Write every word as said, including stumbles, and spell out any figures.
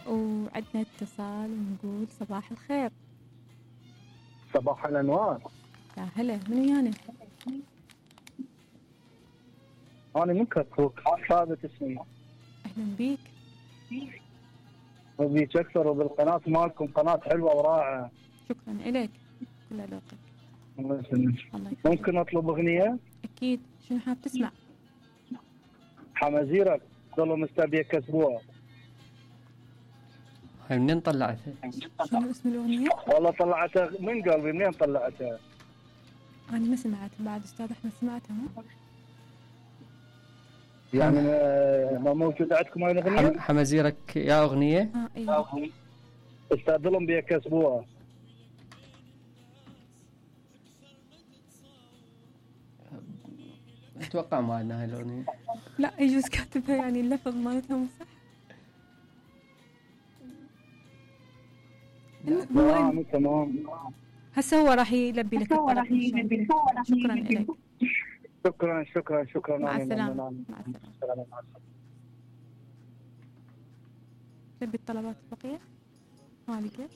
وعندنا اتصال ونقول صباح الخير. صباح الانوار. يا هلا، من ويانا؟ انا من كركوك، ثابت اسمي. اهلا بيك. وبيك اكثر، وبالقناه مالكم قناه حلوه ورائعه. شكرا الك، كل ذوقك. الله يسلمك. الله يخليك. ممكن اطلب اغنيه؟ اكيد، شنو حاب تسمع؟ حمازيرك والله مستبيك اسبوع. هاي منين طلعتها؟ شنو اسم الاغنيه؟ والله طلعتها من قلبي. منين طلعتها؟ انا ما سمعت بعد استاذ احمد، سمعتها ها؟ يعني ما ما موجود عندكم هاي الاغنيه؟ حمازيرك يا اغنيه؟ اه ايوه. استاذ لهم بيك اسبوع. اتوقع ما عندنا هاي الاغنيه. لا يجوز كاتبها يعني اللفظ مالتها مو صح. تمام تمام. هسه هو راح يلبي لك الطلب. شكرا لك. شكرا شكرا شكرا. مع السلامه. مع السلامه. مع السلامه. لبي الطلبات البقيه. ما لقيت.